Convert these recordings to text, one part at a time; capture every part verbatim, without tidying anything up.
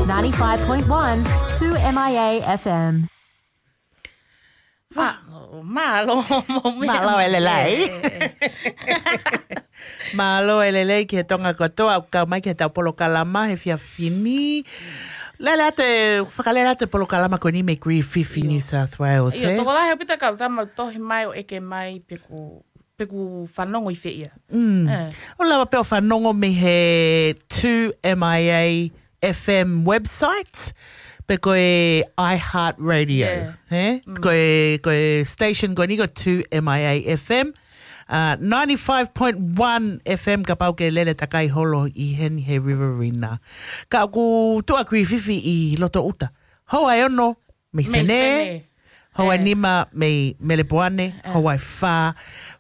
ninety-five point one two M I A F M. Mālō, mālō, mālō e lelei. Mālō e lelei ki he Tonga kotoa, ʻoku kau mai ki heʻetau polokalama he efiafi ni. Lele atu e, fakalele atu e polokalama ko eni mei Griffith, New South Wales, ʻio, ē? Tokolahi ʻaupito e kau tama ʻoku tohi mai ʻo ʻeke mai pe ʻoku, pe ʻoku fanongo ʻi fē ia. Mm. Ē. ʻOku lava pē ʻo fanongo mei he two M I A F M website, pe ko e iHeartRadio, ē? Mm. Ko e, ko e station ko eni ko two M I A F M, uh, ninety-five point one F M kapau ʻoku ke lele takai holo ʻi heni he Riverina. Ka ʻoku tuʻu ʻa Griffith ʻi loto ʻuta. Houa ʻe ono mei Senē, houa ʻe nima mei Melepoane, houa ʻe fā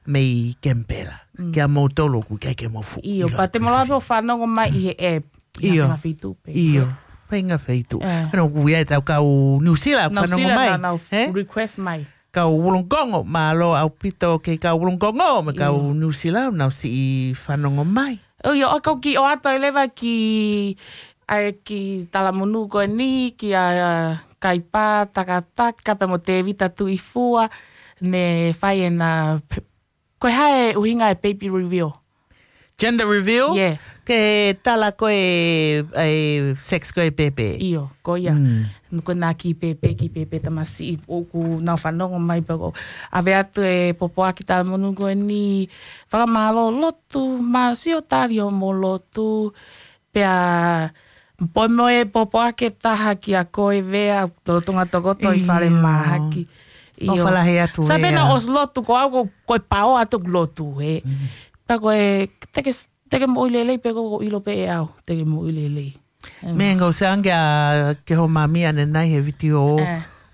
mei Kemipela. Mm. Kia moutolu ʻoku ʻikai ke mou fuʻu ʻilo. ʻIo, pea te mou lava pē ʻo fanongo mai ʻi he app. ʻIo. Ngaahi feituʻu pē. ʻIo. Pea ngaahi feituʻu. Ē. Pea ʻoku ʻi ai ʻetau kau New Zealand, fanongo mai. New Zealand, nau request mai. Kau Wollongong, mālō ʻaupito ki he kau Wollongong, mo e kau New Zealand, nau siʻi fanongo mai. ʻIo, ʻoku ou kiʻi ʻoatu ai leva ki, ʻa e kiʻi talamonū ko eni, kia Kaipa Takataka, pea mo Tevita Tuʻifua, ne fai ʻena pe-, ko e hā e ʻuhinga e baby reveal? Gender reveal? Yeah. Ke tala ko e, e sex ko e pēpē. ʻIo, ko ia. Mm. Ko ʻena kiʻi pēpē, kiʻi pēpē tamasiʻi ʻoku nau fanongo mai pea ʻoku ʻave atu e pōpoaki talamonū ko eni, fakamālō lotu, mālō siʻo tali hoʻomou lotu, pea pea mo e pōpoaki ʻe taha kia koe Vea, lolotonga tokoto ʻi fale mahaki. ʻIo. ʻIo. ʻOfa lahi atu Vea. Sai pē naʻa ku ʻosi lotu ko au ko, ko e pao atu ʻeku lotu, ē. Mm. Pea ko e, te ke, te ke moʻui lelei pē ko, ko ʻilo pē ʻe au, te ke moʻui lelei. Mm. Meʻa ʻoku ou sio ange ʻa ke ho mami ʻanenai he vitiō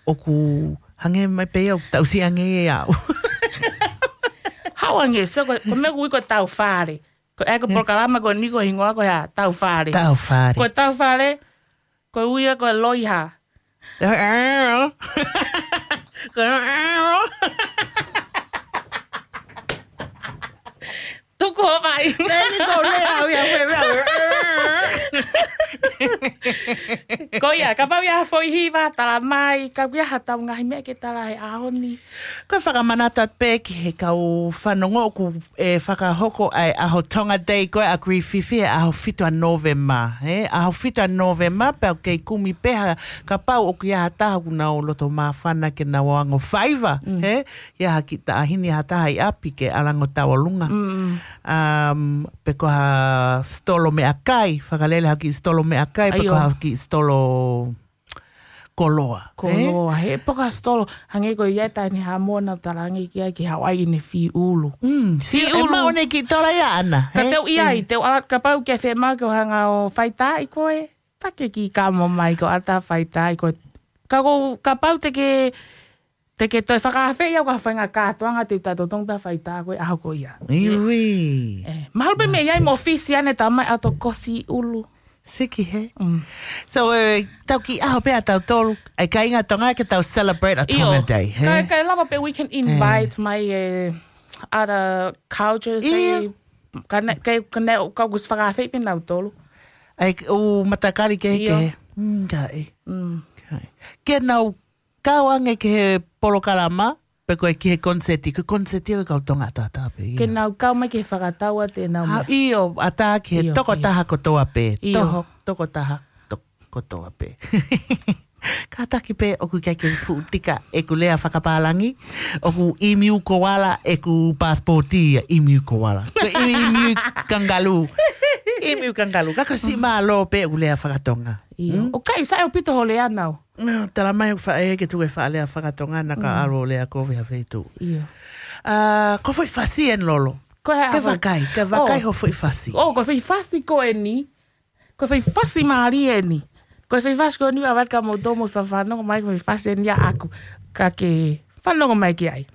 ʻoku hangē mai pē ia ʻoku tausi ange ʻe au. Haʻu ange, so ko, ko e meʻa ʻoku ui ko e tau fale. Ko e, ko e polokalama ko eni ko e hingoa ko e hā, tau fale. Tau fale. Ko e tau fale, ko e ui ia ko e loiha. Ko e tuku hoʻo vaʻinga. Thank you, ko e lea au ia, ko e meʻa. Ko ia, kapau ʻe ʻi ai ha foʻi hiva, tala mai, ka ʻoku ʻi ai haʻatau ngaahi meʻa ke tala he ʻaho ni. Ko e fakamanatu atu pē ki he kau fanongo ʻoku ʻe fakahoko ʻa e ʻaho Tonga Day ko ē ʻa Griffith he ʻaho fitu ʻa Nōvema, ē? ʻAho fitu ʻa Nōvema, pea ʻoku kei kumi pē ha, kapau ʻoku ʻi ai ha taha ʻoku nau loto māfana ke nau ongo faiva, ē? ʻI ai ha kiʻi taʻahine, ha taha ʻi ʻapi ke ʻalu ʻo tauʻolunga. Um, pe ko ha sitolo meʻakai, fakalele ha kiʻi sitolo meʻakai, pe ko ha kiʻi sitolo koloa, ē? Koloa, he poka sitolo, hangē ko ia e taʻahine Haʻamoa naʻa ku talaange ki ai ke haʻu ai ʻene fiulu. Mm, si-, ʻe maʻu ʻene kiʻi tola ia ʻana, ka ē? Te u ʻi ai, te u ʻalu, kapau ke fiemaʻu ke u hanga ʻo faitaaʻi koe, fai e kiʻi kamo mai ko ʻata faitaaʻi koe. Ka ko, kapau te ke, te ke toe fakaafeʻi au ka fainga kātoanga te u taʻetotongi pea faitaaʻi koe ʻaho ko ia. Iwi. Ē, mahalo pē meʻa ʻi ai mo fisi ane tamai ʻato kosi ʻulu. Siki he. Mm. So, ē, tau kiʻi ʻaho pē ʻa tautolu, ʻa e kāinga Tonga ke tau celebrate ʻa Tonga Day, ē? Kae, kae lava pē we can invite mai e other cultures, ē, ka ne, ka, ka ne, ka kusi fakaafeʻi pē nautolu. ʻA e, ʻū matakali kehekehe. Mm, ka ʻi. Mm. Ke nau kau ange ki he polokalama, pe ko e ki he koniseti, ko e koniseti ʻa e kau Tonga ʻataʻatā pē ia. Ke nau kau mai ki he fakatau ʻa te nau meʻa. ʻIo, ʻatā ki he tokotaha kotoa pē. ʻIo. Toho, tokotaha, to-, kotoa pē. Kātaki pē ʻoku ʻikai ke fuʻu tika ʻeku lea fakapālangi, ʻoku ʻimiu koala ʻeku pasipoti ia, ʻimiu koala. Ko e ʻimiu kangalū. ʻImiu kangalū. Ka ko e siʻi mālō pē ʻeku lea fakatonga. ʻIo. Hmm? ʻOku ʻikai sai ʻaupito hoʻo lea nau. Nā, tala mai ʻoku faʻa ʻeke tuku e faʻa lea fakatonga naʻa ka ʻalu ʻo lea kovi ha feituʻu. ʻIo. ʻA, ko e foʻi fasi eni Lolo. Ko e hā? Ke vakai, ke vakai ho foʻi fasi. ʻO, ko e foʻi fasi ko eni. Ko e foʻi fasi mālie eni. Ko e foʻi fasi ko eni ʻa vaka mo tomo fafanongo mai ko e foʻi fasi eni ʻaʻaku. Ka ke fanongo mai ki ai.